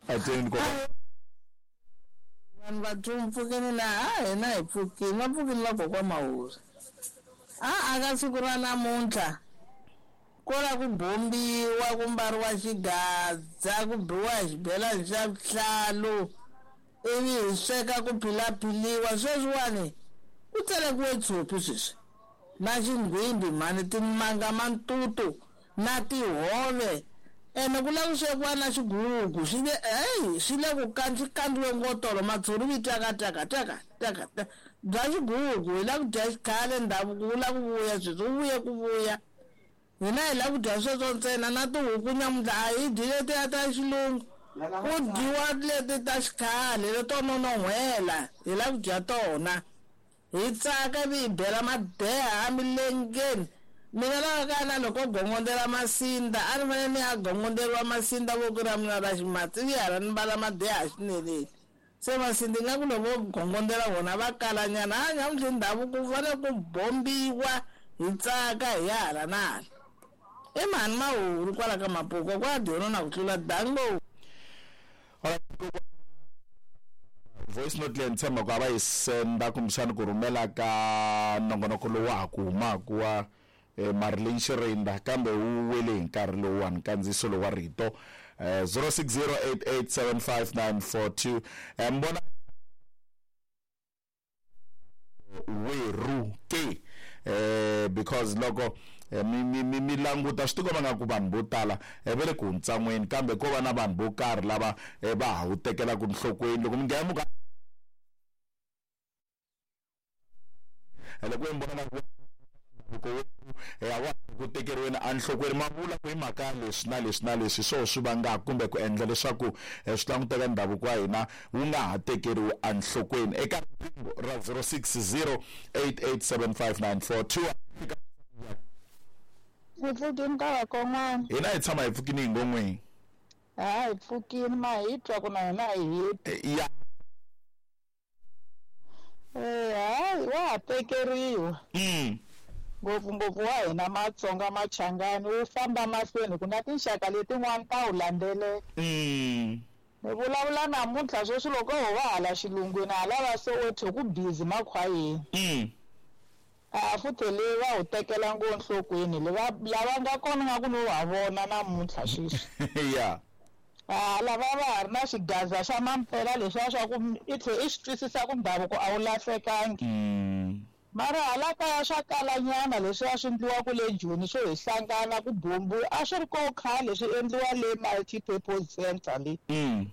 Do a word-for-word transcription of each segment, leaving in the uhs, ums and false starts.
Ateni ko vanhu va pfukini laha a hina hi pfukini va pfukini la kokwa Mahuri a a ka siku ra namuntlha ko la ku bombiwa ku mbariwa xigadza ku biwa hi xibelani xa vuhlalu ivi hi sweka ku philaphiliwa sweswiwani ku tselekiwe tshopi sweswi na xinghwimbi mhani timanga mantutu na tihove ene ku lava ku swekiwa na xigugu swi le eyi swi le ku swi kandziwe ngotolo matshuri vi tyaka tyaka tyaka tyaka bya xigugu hi lava ku dya xikhale ndhavuko wu lava ku vuya sweswi wu vuye ku vuya hina hi lava ku dya sweswo ntsena na tihuku nyamuntlha a hi dyi letiya ta xilungu ku dyiwa leti ta xikhale leto nonon'hwela hi lava ku dya tona hi tsaka ivi hi bela madeha emilengeni mina laha ka na loko gongondela masinda a ni fanele ni ya gongonderiwa masinda voko ra mina ra ximatsi ivi hala ni mbala madeha xineleni se masinda ingaku loko gongondela vona va kalanyana a nyamuntlha ndhavuko wu fanele ku bombiwa hi tsaka hi ya hala na hala i mhani Mahuri kwala ka Mapuka kwa dyona na ku tlula dango. Voice note leyi ni tshemba ku a va yi senda kumbexani ku rhumela ka nongonoko lowu wa ha ku humaka wa Marilyn Shirinda kambe wu wele hi nkarhi lowuwani nkandziyiso lowu wa rito zero six zero eight eight seven five nine four two mbona weru ke eh because loko mi mi mi mi languta swi tikomba nga ku vanhu vo tala va le ku huntsan'weni kambe ko va na vanhu vo karhi lava va ha wu tekelaka enhlokweni loko mi nghena muka loko mi vona na ku ya wa ku tekeriweni enhlokweni ma vula ku hi mhaka leswi na leswi na leswi swo swi vangaka kumbe ku endla leswaku swi languteka ndhavuko wa hina wu nga ha tekeriwi enhlokweni eka riqingho ra zero six zero eight eight seven five nine four two. Hi pfukini ka vakon'wana hina hi tshama hi pfukini hi ngon'weni ha hi pfukini ma hi twa ku na hina hi heti ya eh hayi wa ha tekeriwa mm ngopfungopfu wa hina Matsonga Machangani wu famba mahlweni ku na tinxaka letin'wana ta wu landzelela mm ni vulavula namuntlha sweswi loko ho va hala xilungwini hala va Soweto ku busy makhwayeni mm a futhi le va wu tekela ngo enhlokweni le va lava nga kona nga ku no wa vona namuntlha sweswi ya a lava va ha ri na xigaza xa mampela leswiya swa ku i tlhe i swi twisisa ku ndhavuko a wu lahlekangi mm mara hala kaya swa kalanyana leswiya swi endliwaka le Joni swo hi hlangana ku bombiwa a swi ri ko khale swi endliwa le multi-purpose center le mm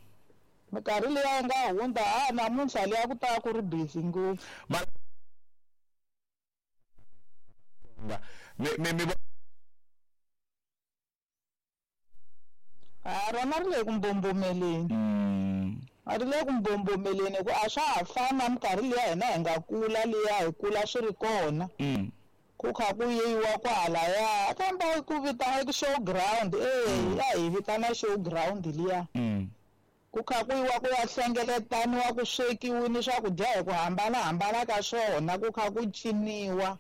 minkarhi liya yi nga hundza a namuntlha liya ku ta ku ri busy ngopfu mi mi mi a rona ri le ku mbombomeleni mm a ri le ku mbombomeleni ku a swa ha fani na minkarhi liya hina hi nga kula liya hi kula swi ri kona mm ku kha ku yiwa kwalaya kambe ku vitana show ground eh a hi vitana show ground liya mm ku kha ku yiwa ku ya hlengeletaniwa ku swekiwini swakudya hi ku hambanahambana ka swona ku kha ku ciniwa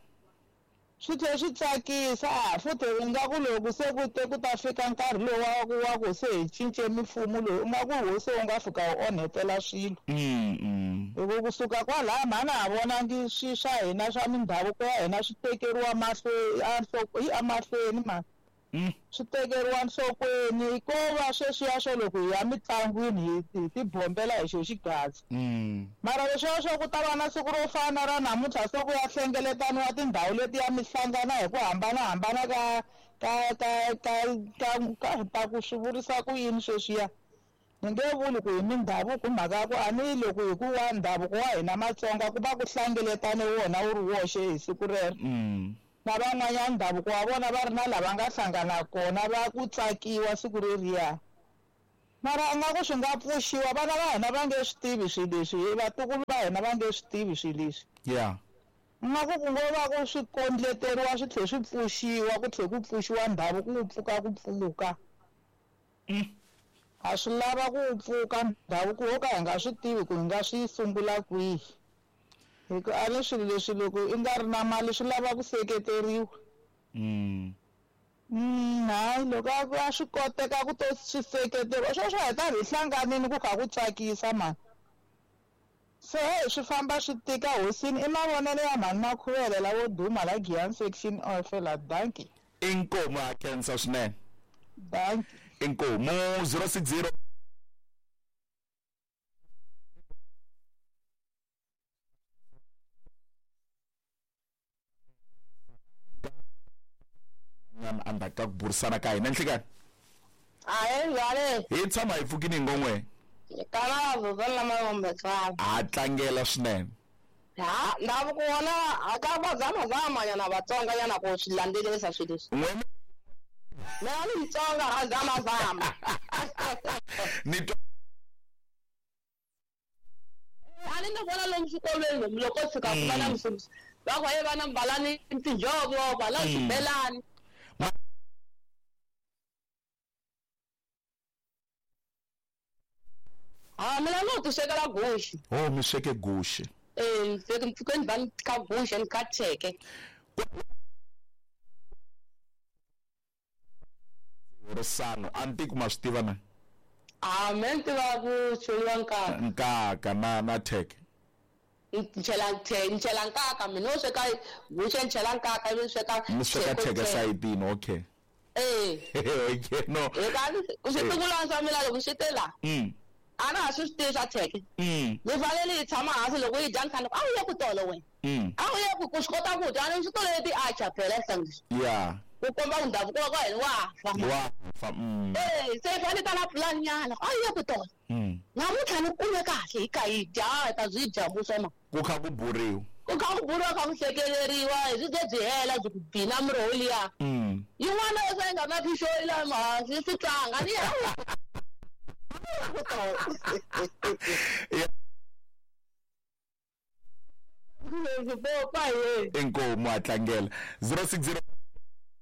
swi tlhela swi tsakisa a futhi u nga ku loko se ku te ku ta fika nkarhi lowu wa ku wa ku se hi cince mimfumo lowu u nga ku ho se u nga fika u onhetela swilo mm mm hi ku kusuka kwalaya mhani ha vonangi swi swa hina swa mindhavuko ya hina swi tekeriwa mahlweni emahlweni mani mm swi tekeriwa enhlokweni ko va sweswiya swo loko hi ya mitlangwini hi hi tibombela hi xo xigaza mm mara leswiya swa ku ta va na siku ro fana ra namuntlha se ku ya hlengeletaniwa tindhawu leti ya mihlangana hi ku hambanahambana ka ka ka ka ka ka ta ku swi vurisa ku yini sweswiya ni nge vuli ku hi mindhavuko mhaka ya ku a ni loko hi ku wa ndhavuko wa hina Matsonga ku va ku hlengeletane wona wu ri woxe hi siku rero mm na van'wanyana ndhavuko wa vona va ri na lava nga hlangana kona va ku tsakiwa siku reriya mara a nga ku swi nga pfuxiwa vana va hina va nge swi tivi swilo leswi vatukulu va hina va nge swi tivi swilo leswi yeah nga ku ku ngo va ku swi kondleteriwa swi tlhela swi pfuxiwa ku tlhela ku pfuxiwa ndhavuko wu pfuka ku pfuka mm a swi lava ku wu pfuka ndhavuko wo ka hi nga swi tivi ku hi nga swi sungula kwihi hi ku a ni swilo leswi loko i nga ri na mali swi lava ku seketeriwa mm Mm, hayi loko a a swi koteka ku to swi seketeriwa sweswo hi ta hi hlanganini ku kha ku tsakisa mani se hey swi famba swi tika hosini i mavonelo ya mhani Makhuvele lawo duma la Giyani section of la danki inkomu ha khensa swinene danki inkomu zero six zero endzhaku ka ku burisana ka hina nhlikani a njhani hi tshama hi pfukini hi ngon'we kana vuvana ha tlangela swinene ha ndhavuko wona ka va zamazama nyana Vatsonga nyana ku swi landzelerisa swilo leswi n'we mina ni Mutsonga ha zamazama ni twa a ni ni vona lomu swikolweni lomu loko fika ku va na mfundhisi va ku he vana mbalani tinjhovo balani xibelani ha mina no ti swekela guxe oh mi sweke guxe eh ni sweke mpfhukeni va ni ka guxe ni ka cheke risano a ni tiku ma swi tiva na a me ni tiva ku cheliwa nkaka nkaka na na theke ni chela ni chela nkaka mina no sweka guxe ni chela nkaka ivi ni sweka mi sweka theke sayitini okay eh okay no eka switukulwana swa mina loko swi te la mm a na ha swi swi tivi swa theke mm ni fanele hi tshama hansi loko yi dya ni khani a wu ye ku tolo wena mm a wu ye ku ku swi kota ku dya ni swi tolele ti-atchar phela sangisi yeah ku komba ku ndhavuko wa ka hina wa fa wa fa mm eh se hi fanele ta na pulani nyana a wu ye ku tolo mm namuntlha ni kume kahle hi ka hi dya hi ta byi dya vuswa ma ku kha ku buriwa ku kha ku buriwa kha ku hlekeleriwa hi swi ze byi hela byi ku bina miroho liya mm yin'wana yo ka yi nga na phixo la mahansi swi tlanga ni ya inkomu a tlangela zero six zero